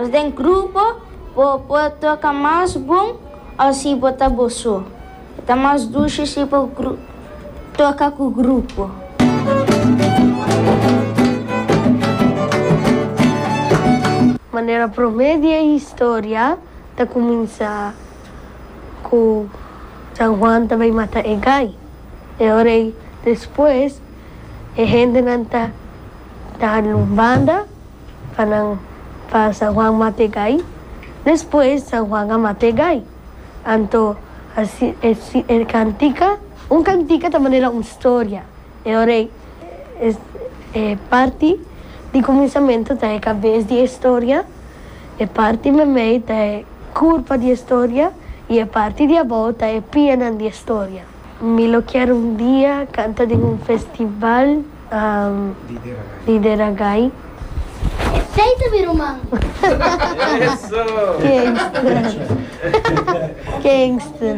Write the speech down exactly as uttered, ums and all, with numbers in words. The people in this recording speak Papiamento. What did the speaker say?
Mas den grupo, bo por toka mas bon òf si bo ta bo so. Ta mas dushi si bo toka ku grupo. Manera promé di e historia ta kuminsá ku San Juan ta bai mata e gai. E ora ei despues e hendenan ta ta hala un banda pa nan pa San Juan mata e gai. Despues San Juan a mata e gai. Anto asi e kantika, un kantika ta manera un storia. E ora ei e parti di kuminsamentu ta e kabes di e storia, e parti meimei ta e kurpa di e storia i e parti di abou ta e pianan di e storia. Mi lo kier un dia kanta den un festival di Deragai. Esei ta mi ruman. Kingston. Kingston.